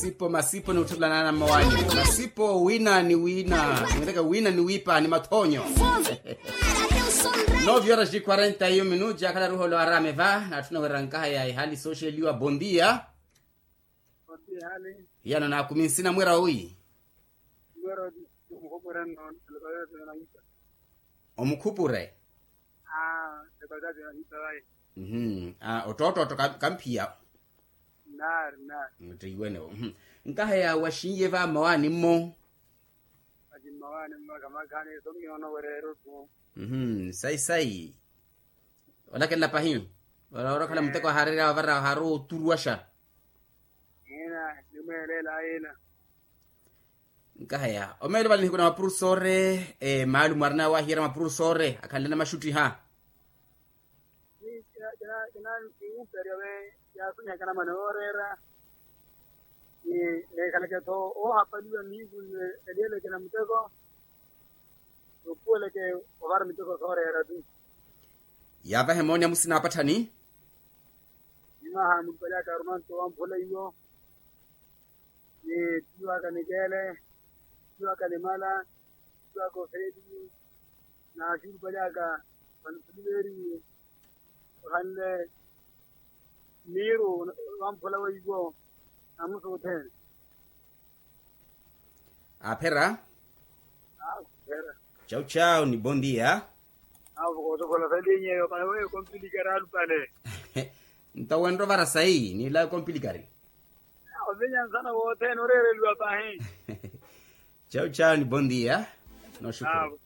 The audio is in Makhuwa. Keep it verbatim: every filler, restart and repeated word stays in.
Masipo masipo ni utthulana na mmawanyu. Masipo wina ni wina, mwireke wina ni wiipa ni mathoonyo. Nove horas de quarenta e um minutos akhala ruholo araame va natthuna wira nkaha ya ihali sooxeliwa bondia. Hiyano naakumi nsina mwira wi. Omukhupure. Ottootto kamphiya. Nkaheya waxinye va mmawaani mmo. Sayi sayi. Olakelela pahi. Ora orakhala muteko ahaarerya ovara ohaarowa oturuwaxa. Nkaheya omeelo vale nihiku na mapurusoore. Maalumu arina wahiyerya mapurusoore akhanle namaxuttiha. Kinansiyuuperya ve yaasonyihaka namana yooreera. Neekhaleke-tho oohapaliwa mihiku nne eliyeleke na muteko. Noopuweleke ovara miteko sooreera tu. Yaavahe mooni amusina apatthani. Nimwaha mulipalyaka arumanto wamphula iyo. Ni tiwaka nikele, tiwaka nimala, tiwaka ofeli. Na xulupalyaka vanisuliveri ohanle miiru. Vamphula weiwo namusuthene. Aphera. Chau chau ni bondia. Awo kootokola salinyeyo pale weyo kompilikari alupale. Nto wenre ovara sayi nilawe kompilikari. Ovinya nsana wothene oreereliwa pahi. Chau chau ni bondia. Noxukuru.